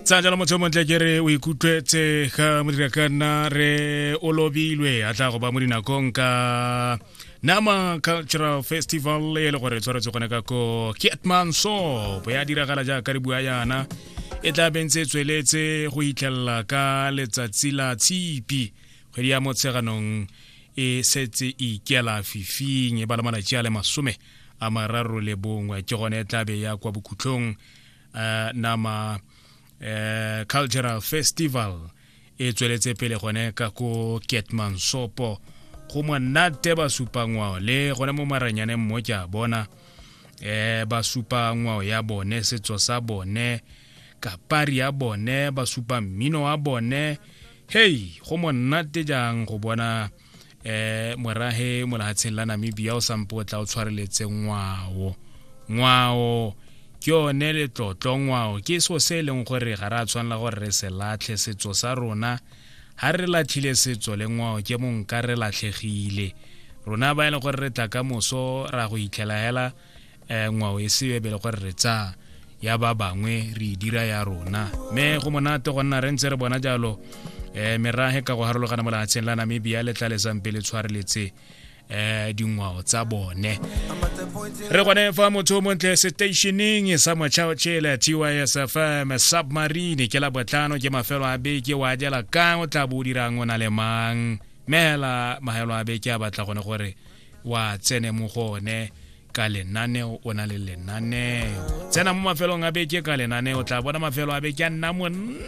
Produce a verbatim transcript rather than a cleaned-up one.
Tsa jalo, motho o montle, ke re o ikutlwetse ga modira ka nna re o lobilwe a tla go ba mo dinakong ka Nama Cultural Festival e le gore e tshwaretswe gone ka ko Keetmanshoop. Ya diragala jaaka re bua yana, e tla bentse e tsweletse go itlhelela ka Letsatsi la Tshipi. Kgwedi ya Motsheganong e setse e ikela fifing, e bala malatsi a le masome a mararo le bongwe, ke gone e tla be ya kwa bokhutlong. uh, nama uh, Cultural Festival e tsweletse pele gone ka ko Keetmanshoop. Go monate, ba supa ngwao le gone mo maranyaneng mo ke a bona eh ba supa ngwao ya bone, setso sa bone, kapari ya bone, ba supa mmino wa bone. Hei, go monate jang go bona eh morahe mo lehatsheng la Namibia o sampo o tla o tshwareletse ngwao. Ngwao ke yone letlotlo, ngwao ke so se e leng gore ga re a tshwanela gore re se latlhe setso sa rona. Ha re latlhile setso le ngwao, ke monka re latlhegile rona ba e leng gore re tla ka moso ra go itlhela hela um ngwao e seo e be le gore re tsaya ya ba bangwe re e dira ya rona. Mme go monate go nna re ntse re bona jalo um merahe ka go harologana mo lehatsheng la Namibia le tla lesang pele tshwareletse um dingwao tsa bone. Re gone fa, motho o montle, stationeng sa Motšhaotšhele, T Y S F M Submarine. Ke la botlhano, ke mafelo a beke. Wa jela kang? O tla bo o dirang? O na le mang? Mme mahelo a beke a batla gone gore wa tsene mo go one ka lenaneo, o na le lenaneo. Tsena mo mafelong a beke ka lenaneo, tla bona mafelo a beke a nna monate.